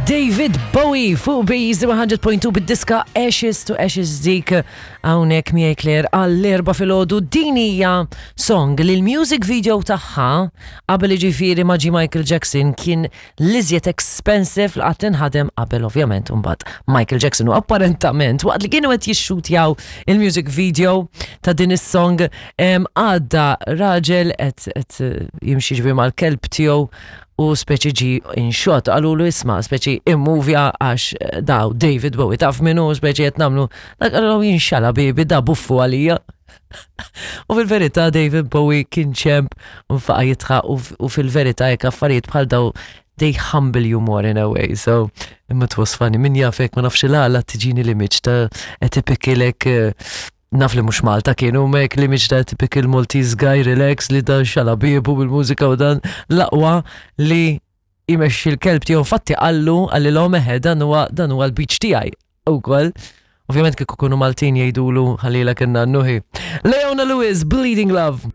David Bowie fuq Bees 100.2 bid-diska Ashes to Ashes dik hawnhekk miegħi Claire għall-erba' filgħodu din hija song li l-music video tagħha qabel jiġifieri ma ġie Michael Jackson kien l-iżjed expensive li qatt inħadem qabel ovvjament imbagħad Michael Jackson u apparentament waqt li kienu qed jixxutjaw il-music video ta' din is-song għadda raġel qed jimxi ġifieri mal-kelb tiegħu u speċi ġi in shot qalulu isma' speċi immuvja għax eh, daw David Bowie taf minnu speċi qed nagħmlu dak qalulu jinxala bibi da buffu għalija. U fil-verità David Bowie kien ċemp u faqa jitħaq u fil-verità jekk affarijiet bħal daw they humble you more in a way. So, imma it was funny. Min jafek ma nafx il-għala tiġini l-image ta' etipikilek eh, Naf li mhux Malta kienu mek li mhix ta' typical Maltese guy relax li dan xala biebu bil-mużika u dan l-aqwa li jmexxi l-kelb tiegħu fatti qallu qalli l eħe dan huwa dan huwa l-beach tiegħi ukoll. Ovvjament kieku kunu Maltin jgħidulu ħalila kien nannuħi. Leona Lewis, Bleeding Love.